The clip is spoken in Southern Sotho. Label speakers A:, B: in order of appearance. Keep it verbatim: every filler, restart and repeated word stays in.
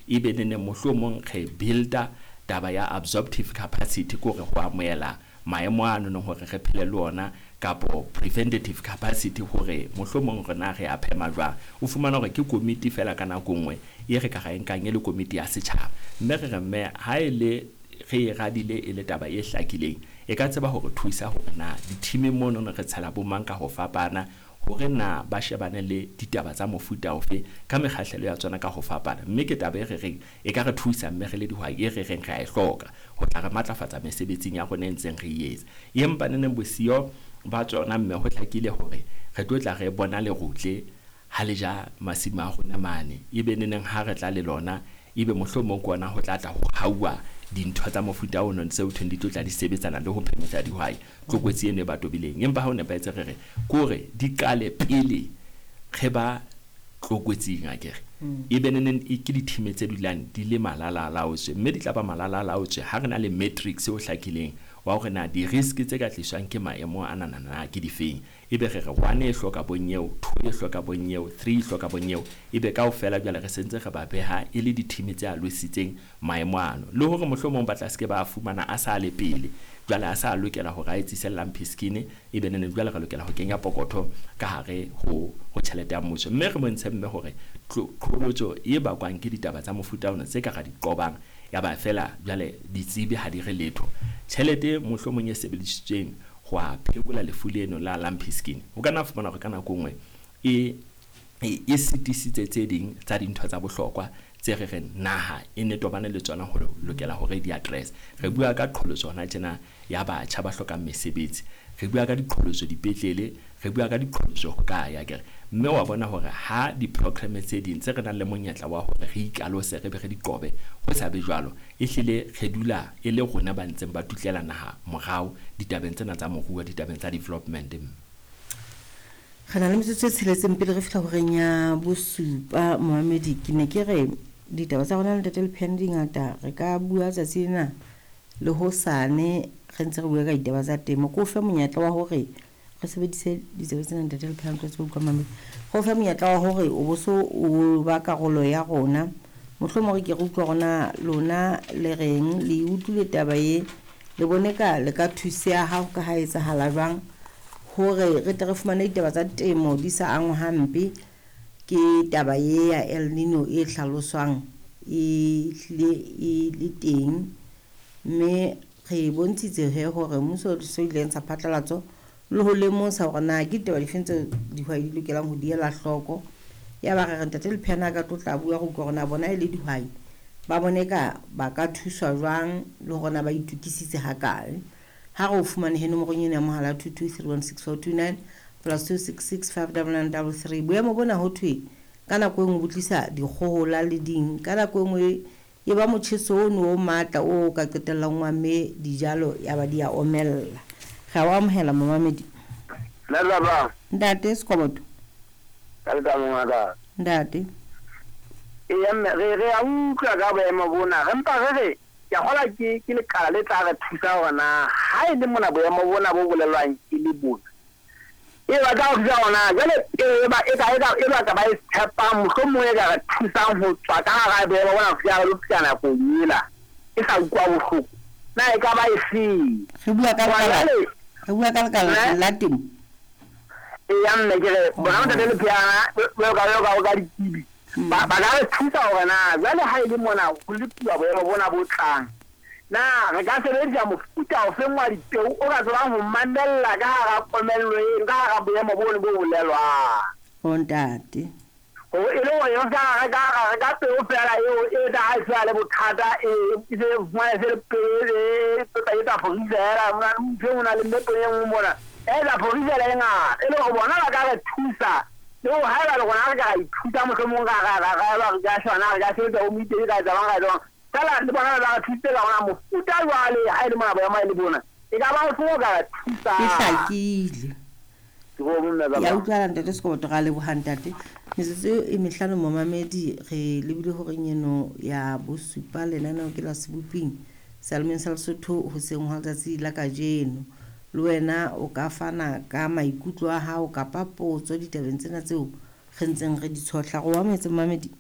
A: Ebe neneng mohlomong re builda taba ya absorptive capacity, ke hore ho amohela maemo ano nong hore re phele le ona, kapo preventative capacity hore mohlomong rena re a phema jwang. O fumana hore ke komiti fela ka nako nngwe e re ka ra e nkang e le komiti ya setjhaba, mme re re mme ha e le re e radile e le taba e hlakileng, e ka tseba hore thusa hore na di-team-ing mono re tshela bo mang ka ho fapana, hore na ba shebane le ditaba tsa mofuta ofe ka mekgahlelo ya tsona ka ho fapana. Mme ke taba e re reng e ka re thusa, mme re le dihwai e re reng re a e hloka ho tla re matlafatsa mesebetsing ya rona e ntseng re e etsa. Empa neneng bosiyo ba tsona, mme ho hlakile hore re tlo tla re bona lerutle ha le ja masimo a rona mane, ebe neneng ha re tla le lona, ebe mohlomong ke ona ho tla tla ho hauwa dintho tsa mofuta ono tseo thweng di tlo tla di sebetsana le ho phemisa dihwai tlokotsi eno e ba tobileng. Empa ha o nepahetse, re re ke hore di qale pele re ba tlokotsing akere, ebe neneng e ke di-team tse dulang di le malala-a-laotswe, mme di tla ba malala-a-laotswe ha re na le matrix o hlakileng wa hore na di-risk tse ka tliswang ke maemo a nanana ke difeng. Ebe re re one e hloka bonyeo, two e hloka bonyeo, three e hloka bonyeo, ebe kaofela jwale re sentse re ba beha e le di-team tse alositseng maemo ano, le hore mohlomong ba tla se ke ba fumana a sa le pele, jwale a sa lokela hore a etsise lumpy skin, ebe neneng jwale re lokela ho kenya pokotho ka hare ho ho tjhelete ya mmuso. Mme re bontshe mme hore qholotso e bakwang ke ditaba tsa mofuta ona tse ka ra di qobang, ya ba fela jwale ditsebi ha di re letho. Tjhelete mohlomong e sebedisitsweng ho a phekola lefu leno la lumpy skin, o ka nna fumana hore ka nako nngwe e e sitisitse tse ding tsa dintho tsa bohlokwa tse re reng naha e ne tobane le tsona ho lokela hore di address. Re bua ka qholotso hona tjena ya batjha ba hlokang mesebetsi, re bua ka diqholotso dipetlele, re bua ka diqholotso ho kae akere. Mme wa bona hore ha di-program tse ding tse re nang le monyetla wa hore re ikalose re be re di qobe, ho sa be jwalo, ehlile re dula e le rona ba ntseng ba tutlela naha morao ditabeng tsena tsa moruo, ditabeng tsa development.
B: Re na le metsotso e tsheletseng pele re fihla horeng ya bosupa. Momamedi, ke ne ke re ditaba tsa rona le Ntate Lepheane di ngata, re ka bua tsatsi lena le hosane re ntse re bua ka ditaba tsa temo. Ke o fe monyetla wa hore re sebedise ditsebe tsena, Ntate Lepheane, tlo tsebe utlwa mamedi. Re o fe monyetla wa hore o bo so o ba karolo ya rona, mohlomong re ke re utlwa rona lona le reng, le utlwile taba e, le bone ka le ka thuseha ha ho ka ha etsahala jwang hore re tle re fumane ditaba tsa temo di sa angwa hampe ke taba e ya El Nino e hlaloswang e hlile e le teng. Mme re bontshitse he hore mmuso o so ile ntsha phatlalatso le ho lemosa hore na ke ditaba difeng tseo dihwai di lokelang ho di ela hloko. Ya ba re re Ntate Lepheane a ka tlo tla bua re utlwa hore na bona e le dihwai ba bone ka ba ka thuswa jwang le hore na ba itokisitse hakae. Ha re o fumane he nomorong ena ya mohala two two three one six four two nine plus two six six five double nine double three. Boemo bona ho thwe ka nako e nngwe bo tlisa dikgohola le ding, ka nako e nngwe e ba motjheso ono o matla o ka qetellang wa mme dijalo ya ba di a omella. Re a o amohela momamedi.
C: Ntate.
B: Ntate Sekoboto.
C: Ka letsatsi ngaka.
B: Ntate.
C: Eya mme re re a utlwa ka boemo bona, re mpa re re ke a kgolwa ke ke lekala le tla re thusa hore na ha e le mona boemo bona bo bolelwang e le bona, e ba tla thusa hore na jwale peo e ba e ka e ka e ba ka ba e tshepang, mohlomong e ka re thusang ho tswa ka hara boemo bona ho fihla re lo fihla nakong ela e sa utlwa bohloko, na e ka ba e feng?
B: Re bua ka
C: Hobane
B: lekala,
C: jwale
B: re bua ka lekala
C: Ne?
B: la temo.
C: Eya mme ke re bona Ntate Lepheana jwalo ka jwalo ka ditsebi ba ba ka re thusa hore na jwale ha e le mona ho lepuwa boemo bona bo tlang, na re ka sebedisa mofuta ofeng wa dipeo o ka tsebang ho mamella ka hara komello eno, ka hara boemo bono bo bolelwang?
B: O ntate.
C: Ho e le hore re ska reka ra reka peo fela eo e tla ha e se le bothata, e e se fumane se le peo e e e tla forisela mona ntho e nngwe na le mme peo e nngwe mona e tla forisela e ngata, e le hore bona ba ka re thusa. Le hore haeba le rona re ka ra ithuta mohlomong ra ra ra ra ra re ka shwana re ka sebetsa bo moitedi ka etsa jwang ra etsa jwang, feela le bona ba re thusitse ka hona mofuta jwale ha e le mona boemo e le bona, e ka ba o feng o ka re
B: E hlakile.
C: Ke bo mme ba
B: Ya
C: bang.
B: utlwahala Ntate Sekoboto, ra leboha ntate. Metsotso e mehlano momamedi re lebile horeng eno ya bosupa, lenaneo ke la Seboping Seyalemoyeng sa Lesotho hoseng hwa letsatsi la kajeno. Le wena o ka fana ka maikutlo a hao kapa potso ditabeng tsena tseo re ntseng re di tshohla. Re o amohetse momamedi.